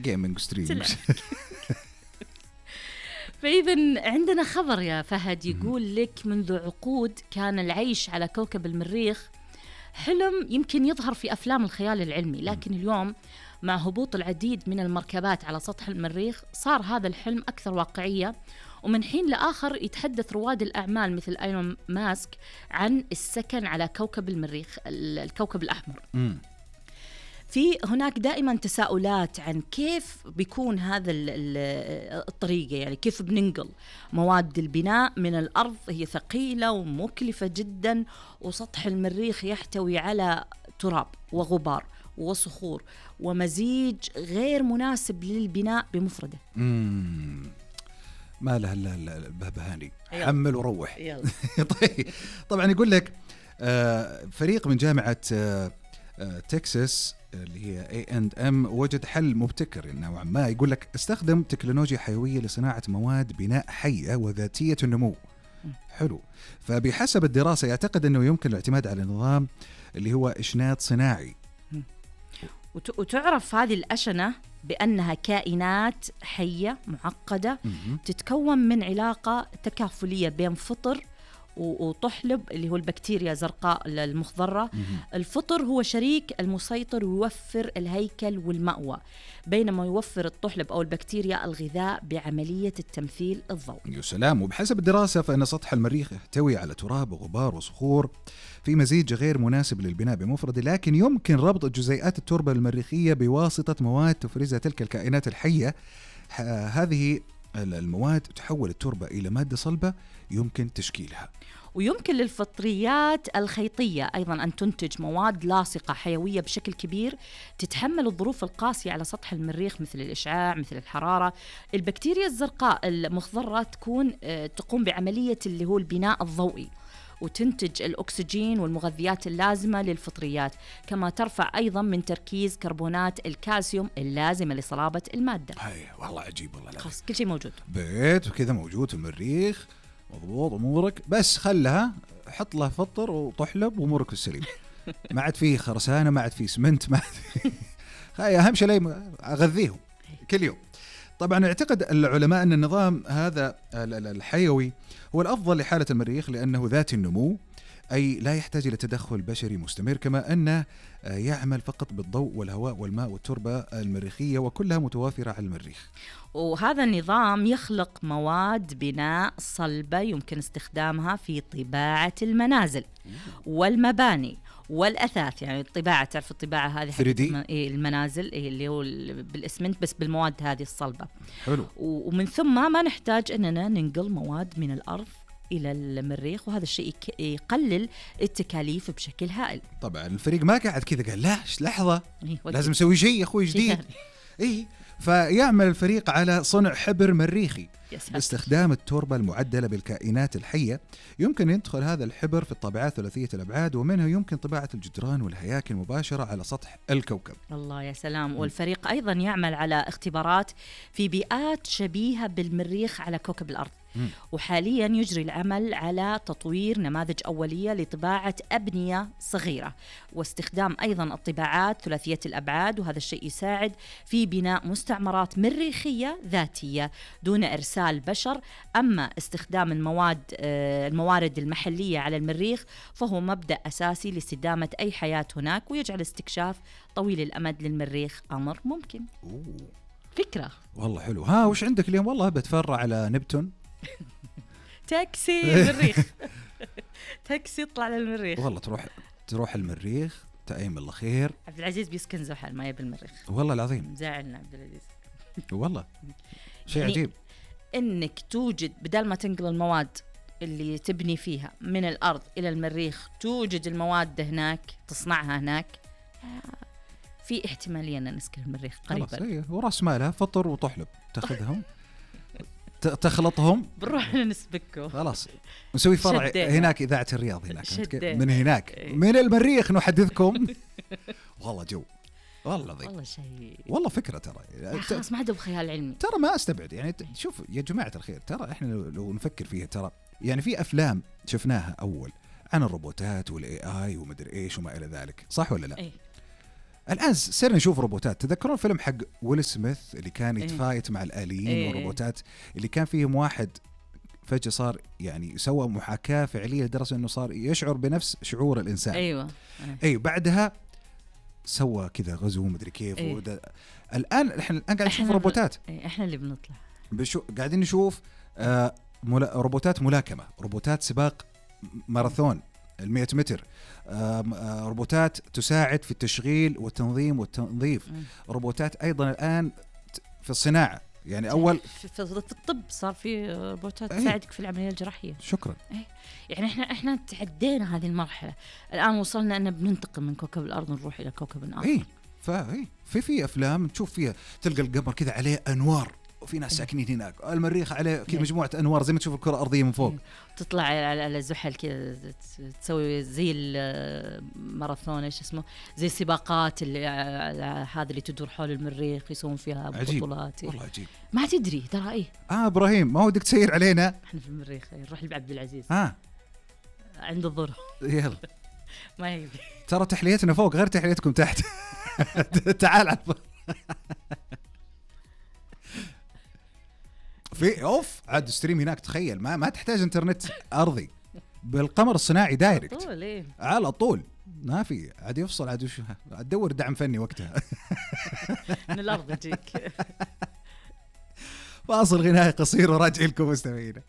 جيمنج ستريم. فإذا عندنا خبر يا فهد يقول لك منذ عقود كان العيش على كوكب المريخ حلم يمكن يظهر في أفلام الخيال العلمي، لكن اليوم مع هبوط العديد من المركبات على سطح المريخ صار هذا الحلم أكثر واقعية. ومن حين لآخر يتحدث رواد الأعمال مثل ايلون ماسك عن السكن على كوكب المريخ الكوكب الأحمر. في هناك دائما تساؤلات عن كيف بيكون هذا الطريقة، يعني كيف بننقل مواد البناء من الأرض، هي ثقيلة ومكلفة جدا، وسطح المريخ يحتوي على تراب وغبار وصخور ومزيج غير مناسب للبناء بمفرده. ما له الا البهبهاني، حمل وروح. طيب طبعا يقول لك فريق من جامعة تكساس اللي هي A&M وجد حل مبتكر نوعا ما. يقول لك استخدم تكنولوجيا حيوية لصناعة مواد بناء حية وذاتية النمو. حلو. فبحسب الدراسة يعتقد أنه يمكن الاعتماد على نظام اللي هو إشنات صناعي. وتعرف هذه الأشنة بأنها كائنات حية معقدة تتكون من علاقة تكافلية بين فطر وطحلب اللي هو البكتيريا زرقاء المخضرة. الفطر هو شريك المسيطر ويوفر الهيكل والمأوى، بينما يوفر الطحلب أو البكتيريا الغذاء بعملية التمثيل الضوئي. يا سلام. وبحسب الدراسة فإن سطح المريخ يحتوي على تراب وغبار وصخور في مزيج غير مناسب للبناء بمفرده، لكن يمكن ربط جزيئات التربة المريخية بواسطة مواد تفرزها تلك الكائنات الحية. هذه المواد تحول التربة إلى مادة صلبة يمكن تشكيلها. ويمكن للفطريات الخيطية أيضا أن تنتج مواد لاصقة حيوية بشكل كبير تتحمل الظروف القاسية على سطح المريخ مثل الإشعاع مثل الحرارة. البكتيريا الزرقاء المخضرة تقوم بعملية اللي هو البناء الضوئي وتنتج الأكسجين والمغذيات اللازمة للفطريات، كما ترفع أيضا من تركيز كربونات الكالسيوم اللازمة لصلابة المادة. هاي والله عجيب والله. خلاص كل شيء موجود، بيت وكذا موجود في المريخ، مضبوط أمورك، بس خلها حط له فطر وطحلب وأمورك السليم. ما عاد فيه خرسانة، ما عاد فيه سمنت، ما عاد أهم شيء أغذيهم كل يوم. طبعا يعتقد العلماء أن النظام هذا الحيوي هو الأفضل لحالة المريخ لأنه ذات النمو، أي لا يحتاج إلى تدخل بشري مستمر، كما أنه يعمل فقط بالضوء والهواء والماء والتربة المريخية وكلها متوافرة على المريخ. وهذا النظام يخلق مواد بناء صلبة يمكن استخدامها في طباعة المنازل والمباني والأثاث. يعني الطباعة، تعرف الطباعة هذه المنازل اللي هو بالإسمنت بس بالمواد هذه الصلبة. حلو. ومن ثم ما نحتاج أننا ننقل مواد من الأرض إلى المريخ، وهذا الشيء يقلل التكاليف بشكل هائل. طبعا الفريق ما قاعد كذا قال لا لحظة لازم نسوي شيء يا أخوي جديد. فيعمل الفريق على صنع حبر مريخي باستخدام التربة المعدلة بالكائنات الحية. يمكن يدخل هذا الحبر في الطابعات ثلاثية الأبعاد، ومنها يمكن طباعة الجدران والهياكل مباشرة على سطح الكوكب. الله يا سلام. والفريق أيضا يعمل على اختبارات في بيئات شبيهة بالمريخ على كوكب الأرض، وحاليا يجري العمل على تطوير نماذج أولية لطباعة أبنية صغيرة واستخدام أيضا الطباعات ثلاثية الأبعاد، وهذا الشيء يساعد في بناء مستعمرات مريخية ذاتية دون إرسال بشر. أما استخدام الموارد المحلية على المريخ فهو مبدأ أساسي لاستدامة أي حياة هناك، ويجعل استكشاف طويل الأمد للمريخ أمر ممكن. فكرة والله حلو. ها وش عندك اليوم؟ والله بتفرع على نبتون. تاكسي المريخ. تاكسي يطلع للمريخ. والله تروح المريخ تأيم الله خير. عبد العزيز بيسكن زحل ما يبي المريخ والله العظيم. زعلنا عبد العزيز والله شيء يعني عجيب انك توجد بدل ما تنقل المواد اللي تبني فيها من الأرض إلى المريخ، توجد المواد هناك تصنعها هناك. في احتمالية أن نسكن المريخ قريبا. وراس مالها فطر وطحلب تاخذهم تخلطهم بنروح نسبكه. خلاص نسوي فرع هناك إذاعة الرياض هناك من هناك من المريخ نحدثكم. والله جو والله ضيق. والله شيء والله فكرة ترى خلاص ما عاد بخيال علمي. ترى ما استبعد يعني شوف يا جماعة الخير، ترى احنا لو نفكر فيها ترى يعني في أفلام شفناها أول عن الروبوتات والAI ومدري إيش وما إلى ذلك، صح ولا لا؟ الآن صرنا نشوف روبوتات. تذكرون فيلم حق ويل سميث اللي كان يتفايت مع الآليين والروبوتات، اللي كان فيهم واحد فجأة صار يعني سوى محاكاة فعلية لدرجة أنه صار يشعر بنفس شعور الإنسان. أيوة. بعدها سوى كذا غزو مدري كيف. الآن إحنا قاعد نشوف روبوتات. إحنا اللي بنطلع قاعدين نشوف روبوتات ملاكمة، روبوتات سباق ماراثون 100 متر، روبوتات تساعد في التشغيل والتنظيم والتنظيف، روبوتات أيضا الآن في الصناعة. يعني أول في الطب صار في روبوتات تساعدك في العملية الجراحية. شكرا. يعني احنا تعدينا هذه المرحلة، الآن وصلنا أن بننتقل من كوكب الأرض نروح إلى كوكب آخر. في أفلام تشوف فيها تلقى القمر كذا عليه أنوار وفي ناس ساكنين هناك، المريخ عليه كذا مجموعة أنوار زي ما تشوف الكرة الأرضية من فوق. تطلع على زحل كذا تسوي زي الماراثون ايش اسمه، زي السباقات اللي هذا اللي تدور حول المريخ يسوون فيها بطولات. والله عجيب. ما تدري ترى ايه. ابراهيم ما ودك تسير علينا؟ احنا في المريخ نروح لعبد العزيز. عند الظهر. يلا. ما يبي. ترى تحليتنا فوق غير تحليتكم تحت. تعال على في اوف عاد ستريم هناك. تخيل ما تحتاج انترنت ارضي، بالقمر الصناعي دايركت على طول. ما في عاد يفصل عاد تدور دعم فني وقتها. من الارض تجيك. فاصل غنائي قصير وراجع لكم مستمعينا.